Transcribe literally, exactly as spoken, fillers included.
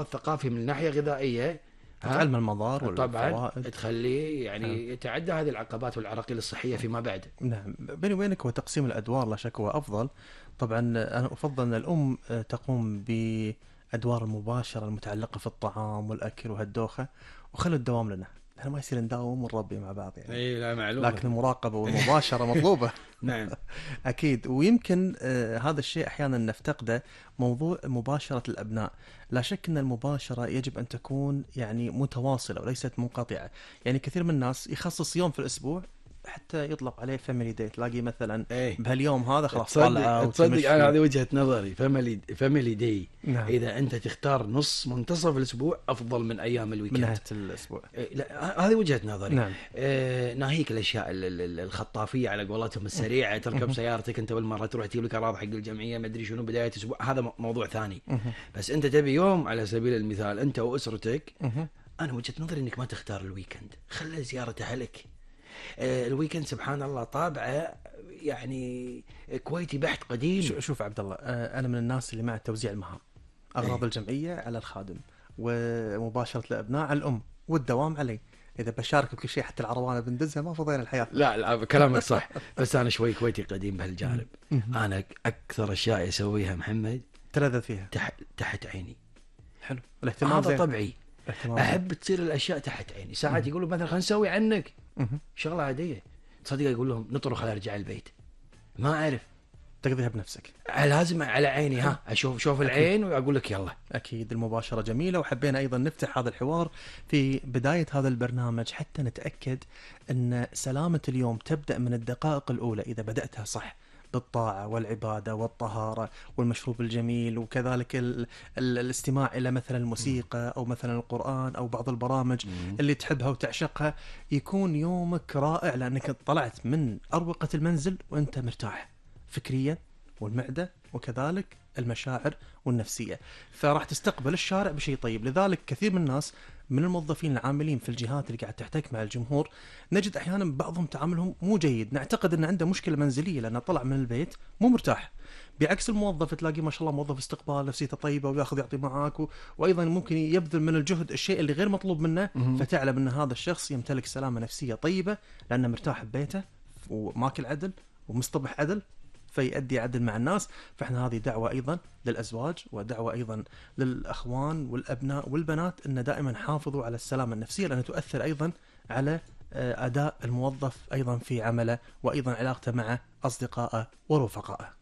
الثقافي من ناحية غذائية، ها تعلم المضار طبعا والفوائد. تخليه حلو. يعني يتعدى هذه العقبات والعراقيل الصحية فيما بعد. نعم، بيني وبينك هو تقسيم الأدوار لا شك هو أفضل. طبعا أنا أفضل أن الأم تقوم بأدوار المباشرة المتعلقة في الطعام والأكل وهالدوخة، وخلوا الدوام لنا، احنا ما يصير نداوم ونربي مع بعض يعني. اي لا معلومة. لكن المراقبة والمباشرة مطلوبة. نعم. أكيد. ويمكن آه هذا الشيء أحيانا نفتقده، موضوع مباشرة الأبناء. لا شك أن المباشرة يجب أن تكون يعني متواصلة وليست منقطعة. يعني كثير من الناس يخصص يوم في الأسبوع حتى يطلق عليه فاميلي داي، تلاقي مثلا ايه بهاليوم هذا خلاص طلعة تصدق تصدق انا وتمشي. هذه وجهة نظري، فاميلي فاميلي داي. نعم. اذا انت تختار نص منتصف الاسبوع افضل من ايام من الويكند. نهاية الأسبوع. إيه، لا هذه وجهة نظري. نعم. آه ناهيك الاشياء ال- ال- ال- الخطافيه على قولتهم السريعه، تركب سيارتك انت بالمره تروح تجيب لك اراضي حق الجمعيه ما ادري شنو بدايه اسبوع، هذا م- موضوع ثاني. بس انت تبي يوم على سبيل المثال انت واسرتك، انا وجهة نظري انك ما تختار الويكند، خلي زياره اهلك. آه الويكند سبحان الله طابعه يعني كويتي بحت قديم. شو- شوف عبد الله، آه، أنا من الناس اللي مع توزيع المهام، أغراض إيه. الجمعية على الخادم، ومباشرة الأبناء على الأم، والدوام علي. إذا بشارك بكل شيء حتى العروانة بندزها ما فضينا الحياة. لا لا كلامك صح، بس انا شوي كويتي قديم بهالجانب. مهم. انا اكثر اشياء يسويها محمد تلذذ فيها. تحت تحت عيني. حلو، الاهتمام هذا زين. طبعي، الاهتمام احب تصير الاشياء تحت عيني. ساعات يقولوا مثلا خلينا نسوي عنك مهم. شغله عاديه، تصدق يقول لهم نطرق خلينا ارجع البيت، ما اعرف، تقضيها بنفسك. لازم على عيني، ها اشوف شوف العين واقول لك يلا. أكيد المباشرة جميلة، وحبينا أيضا نفتح هذا الحوار في بداية هذا البرنامج حتى نتأكد أن سلامة اليوم تبدأ من الدقائق الأولى إذا بدأتها صح، بالطاعة والعبادة والطهارة والمشروب الجميل، وكذلك ال ال الاستماع إلى مثلا الموسيقى أو مثلا القرآن أو بعض البرامج اللي تحبها وتعشقها. يكون يومك رائع لأنك طلعت من أروقة المنزل وأنت مرتاح فكريا والمعدة وكذلك المشاعر والنفسية، فراح تستقبل الشارع بشيء طيب. لذلك كثير من الناس من الموظفين العاملين في الجهات اللي قاعد تحتك مع الجمهور نجد أحيانا بعضهم تعاملهم مو جيد، نعتقد أنه عنده مشكلة منزلية لأنه طلع من البيت مو مرتاح. بعكس الموظف تلاقي ما شاء الله موظف استقبال نفسيته طيبة وياخذ يعطي معاك و... وأيضا ممكن يبذل من الجهد الشيء اللي غير مطلوب منه، فتعلم أن هذا الشخص يمتلك سلامة نفسية طيبة لأنه مرتاح ببيته وماكل عدل ومصطبح عدل، فيؤدي عدل مع الناس. فإحنا هذه دعوة أيضا للأزواج ودعوة أيضا للأخوان والأبناء والبنات أن دائما حافظوا على السلامة النفسية، لأنها تؤثر أيضا على أداء الموظف أيضا في عمله، وأيضا علاقته مع أصدقائه ورفقائه.